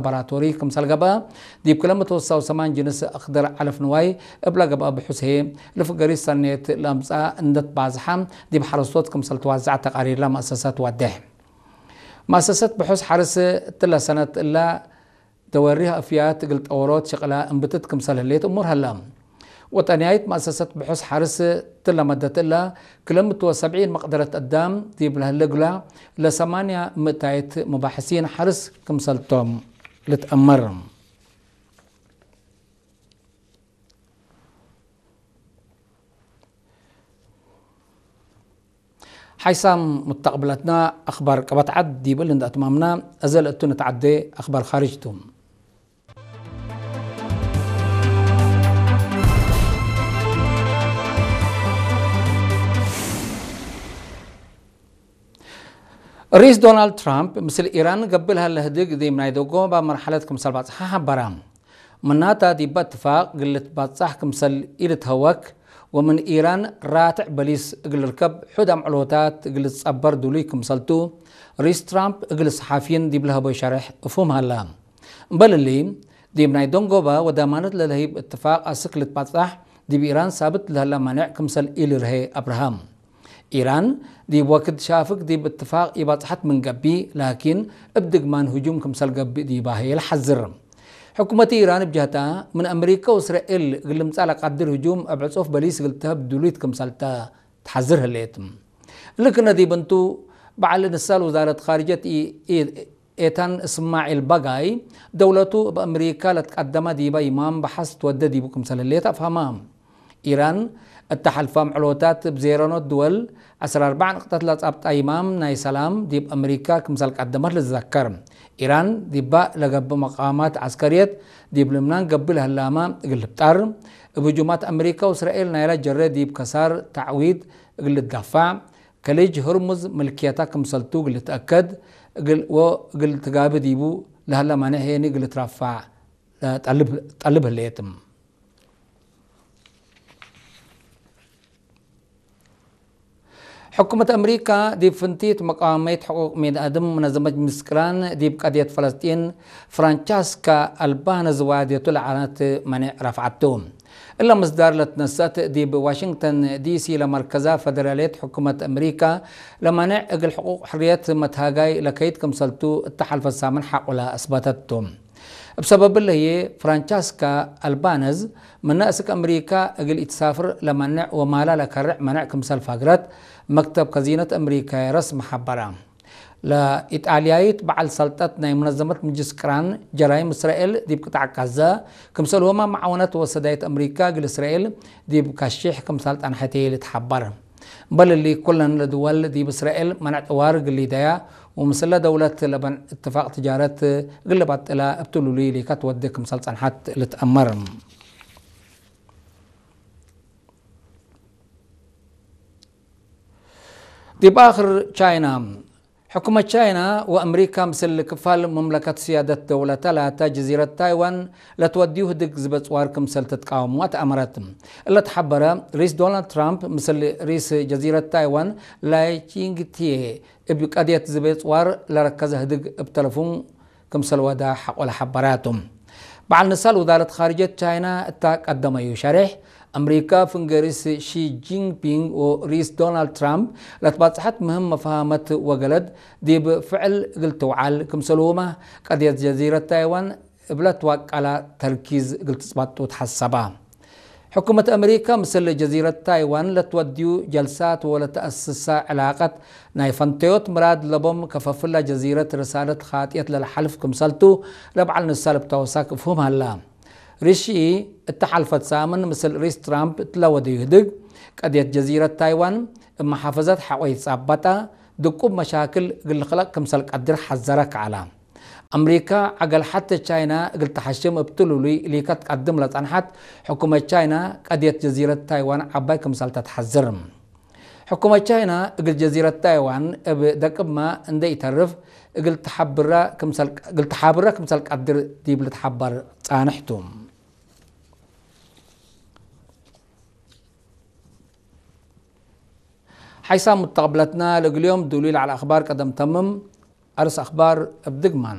ላቦራቶሪ ክምሰል ገብአ፣ ዲብ ክለ ምትወሳው ሰማን ጅንስ ኣኽደር ዓለፍ ንዋይ እብለ ገብአ ብሑስ ህዬ፣ ልፍገሪ ሰኔት ለምጽአ እንደት ባዝሓ ዲብ ሓረስቶት ክምሰል ትዋዛዕ ተቃሪርላ መእሰሰት ወዴሕ። መእሰሰት ብሑስ ሓርስ እትለ ሰነት እላ ደወሪህ ኣፍያት እግል ጠወሮት ሽቅላ እምብትት ክምሰል ህሌት እሙር ሀላ። ወጠንያይት መእሰሰት ብሑስ ሓርስ ትለመደት እላ ክለ ምትወ ሰብዒን መቅደረት ኣዳም ዲብ ለህለ እግላ ለሰማንያ ምእታይት ሙባሕሲን ሓርስ ክምሰልቶም ልትአመር። ሓይሳም ሙተቅብለትና ኣኽባር ቀበት ዓድ ዲብል እንዳ እትማምና፣ እዘ ለእቱ ንትዓዴ ኣኽባር ኻርጅ ቱ። ሪስ ዶናልድ ትራምፕ ምስል ኢራን ገብል ሃለ ህድግ ዲብ ናይ ደጎ ባብ መርሓለት ክምሰል ባጽሓ ሓበራ። ምናታ ዲባ እትፋቅ ግልት ባጻሕ ክምሰል ኢልትሀወክ ወምን ኢራን ራትዕ በሊስ እግል ርከብ ሑድ ኣምዕሎታት እግል ጸበር ዱሉይ ክምሰልቱ ሪስ ትራምፕ እግል ሰሓፊን ዲብ ለሀቦይ ሸርሕ እፉም ሃላ። እምበልሊ ዲብ ናይ ደንጎባ ወዳማነት ለለህይብ እትፋቅ ኣስክ ልትባጻሕ ዲብ ኢራን ሳብት ለህላ ማንዕ ክምሰል ኢልርሄ ኣብርሃም። ኢራን ዲብ ወክድ ሻፍግ ዲብ እትፋቅ ኢባጽሐት ምን ገቢ፣ ላኪን እብ ድግማን ህጁም ክምሰል ገቢ ዲባ ህየ ለሓዝር። ሕኩመት ኢራን እብ ጀህታ ምን ኣመሪካ ወእስራኤል እግል ልምጻእ ለቃድር ህጁም እብ ዕጹፍ በሊስ እግል ትሀብ ዱሉይት ክምሰልተ ተሓዝር ህሌት። እሊ ክነ ዲብ እንቱ በዓል ንሳል ውዛረት ኻርጀት ኢ-፣ ኢ-፣ ኤታን እስማዒል ባጋይ፣ ደውለቱ እብ ኣመሪካ ለትቀደመ ዲበ ይማም በሐስ ትወደ ዲቡ ክምሰል ህሌት ኣፍሃማ። ኢራን እተ ሐልፋ ምዕሎታት እብ ዜረኖት ድወል ዐስራ ኣርባዕ ንቅጠት ለጻብጣ ይማም ናይ ሰላም ዲብ ኣመሪካ ክምሰል ቀደመት ልትዘከር። ኢራን ዲባ ለገብእ መቃማት ዐስከርየት ዲብ ልብናን ገብእ ለህላማ እግል ልብጣር፣ እብ ህጁማት ኣመሪካ ወእስራኤል ናይላ ጀረ ዲብ ከሳር ተዕዊድ እግል ልትዳፋዕ፣ ከሊጅ ህርሙዝ ምልክየታ ክምሰልቱ እግል ልትአከድ እግል ወእግል ትጋቢ ዲቡ ለህላ ማንዕ ሄኒ እግል ልትራፋዕ ጠልብ፣ ጠልብ ህሌት። ሕኩመት ኣመሪካ ዲብ ፍንቲት መቃወመይት ሕቁቅ ሚድ ኣድም መነዘመት ምስክራን ዲብ ቀድየት ፈለስጢን ፍራንቸስካ ኣልባነዝ ዋድየቱ ለዓነት መኔዕ ረፍዓቱ። እለ ምስዳር ለትነሰት ዲብ ዋሽንግተን ዲሲ ለመርከዛ ፈደራልየት ሕኩመት ኣመሪካ ለመኔዕ እግል ሕቁቅ ሕርየት መትሃጋይ ለከይድ ክምሰልቱ እተሐልፈ ሳምን ሐቁላ ኣስበተቱ። እብ ሰበብ እለ ህዬ ፍራንቸስካ ኣልባነዝ ምነ እስክ ኣመሪካ እግል ኢትሳፍር ለመንዕ ወማላ ለከርዕ መነዕ ክምሰል ፋግረት መክተብ ከዚነት ኣመሪካየ ረስሚ ሐበራ። ለኢጣልያይት በዓል ሰልጠት ናይ መነዘመት ምጅስ ቅራን ጀራይም እስራኤል ዲብ ቅጣዕ ጋዛ ክምሰልሁማ መዓወነት ወሰዳይት ኣመሪካ እግል እስራኤል ዲብ ካሽሕ ክምሰል ጸንሐት ልትሐበር። እምበል እሊ ኩለን ለድወል ዲብ እስራኤል መነዕ ጥዋር እግል ሊደያ ወምስለ ደውለት ለበን እትፋቅ ትጃረት እግል ለባጥላ እብ ትሉሉይ ሊካ ትወዴ ክምሰል ጸንሐት ልትአመር። ዲብ ኣኽር ቻይና። ሕኩመት ቻይና ወኣመሪካ ምስል ክፋል መምለከት ስያደት ደውለተ ላተ ጀዚረት ታይዋን ለትወድዩ ህድግ ዝበጽዋር ክምሰል ትትቃወሙ ኣትኣመረት። እለ ተሓበረ ሪስ ዶናልድ ትራምፕ ምስል ሪስ ጀዚረት ታይዋን ላይ ቺንግቲዬ እብ ቀድየት ዝበጽዋር ለረከዘ ህድግ እብ ተለፉን ክምሰል ወዳ ሐቆለ ሐበራቱ። በዓል ንሳል ውዛረት ኻርጀት ቻይና እታ ቀደመዩ ሸሬሕ፣ ኣምሪካ ፍንገሪስ ሺ ጂንፒንግ ወሪስ ዶናልድ ትራምፕ ለትባጽሐት ምህም መፋሃመት ወገለድ ዲብ ፍዕል እግል ትውዓል፣ ክምሰልሁማ ቀድየት ጀዚረት ታይዋን እብለት ዋቃላ ተርኪዝ እግል ትጽባጡ ተሐሰባ። ሕኩመት ኣመሪካ ምስል ጀዚረት ታይዋን ለትወድዩ ጀልሳት ወለተአስሳ ዕላቀት ናይ ፈንተዮት ምራድ ለቦም ከፈፍላ ጀዚረት ርሳለት ኻጥየት ለልሓልፍ ክምሰልቱ ለበዓል ንሳል እብ ተወሳክ እፍሁም ሀላ። ሪሺ እተ ሓልፈት ሳምን ምስል ሪስ ትራምፕ እትለወደዩ ህድግ ቀድየት ጀዚረት ታይዋን እብ መሓፈዘት ሐቆ ይጻበጣ ድቁብ መሻክል እግል ልኽለቅ ክምሰል ቀድር ሐዘረ ከዓላ። ኣምሪካ ዐገል ሐተ ቻይና እግል ተሐሽም እብ ትሉሉይ ሊከ ትቀድም ለጸንሐት ሕኩመት ቻይና ቀድየት ጀዚረት ታይዋን ዐባይ ክምሰል ተትሐዝር። ሕኩመት ቻይና እግል ጀዚረት ታይዋን እብ ደቅማ እንደ ኢተርፍ እግል ተሓብራ ክምሰል፣ እግል ተሓብራ ክምሰል ቀድር ዲብ ልትሓበር ጻንሕቱ። ሓይሳም ሙተቅብለትና ለእግልዮም ዱሉይ ለዓል ኣኽባር ቀደም ተምም። ኣርስ ኣኽባር እብ ድግማን።